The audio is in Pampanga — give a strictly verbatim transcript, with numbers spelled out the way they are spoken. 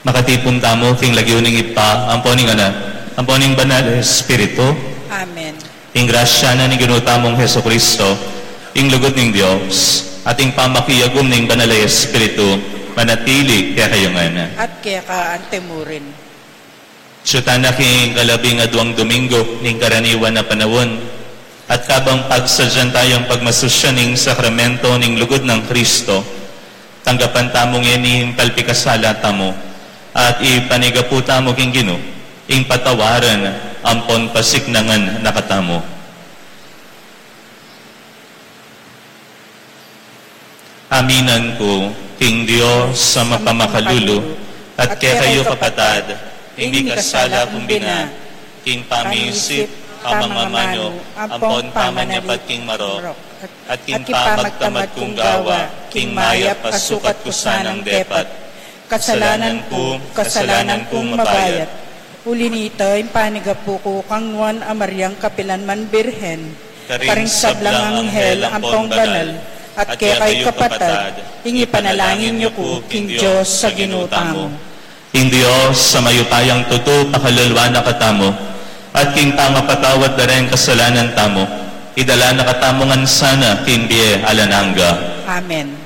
Makatipun tamu king lagyu ning Ibpa, ampo ning Anak, ampo ning Banal a Espiritu. Amen. Ing grasya na ning Ginu tamung Jesucristo, ing lugud ning Dios, at ing pamakiyagum ning Banal a Espiritu, manatili kekayu ngan. At keka antimurin. Sutana king kalabing aduang Domingo ning karaniwan a panaun, at kabang pagsadyan tayang pagmasusyan ning sakramento ning lugud nang Kristo, tanggapan tamu ngeni ing palpikasala tamu, at ipanigapu tamu king Ginu ing patawaran ampon pasiknangan na katamu. Aminan ku king Dios a mapamakalulu, at kekayu kapatad, ing mikasala kung bina, king pamisip, pamangamanu, ampon pamanyapat king marok, at king pamagtamad kung gawa, king mayap a sukat ku sanang depat. Kasalanan ku, kasalanan kung mabayat. Uli nita, ing panigapu ku kang Nuan a Mariang kapilan man Birhen, karing sablang anghel ampong banal, at kekayu kapatad, ing ipanalangin yu ku king Dios a Ginu tamu. Ing Dios a mayupayang tutu pakaluluan na katamu, at king pangapatawad da ring kasalanan tamu, idala na katamu ngan sana king bie alang angga. Amen.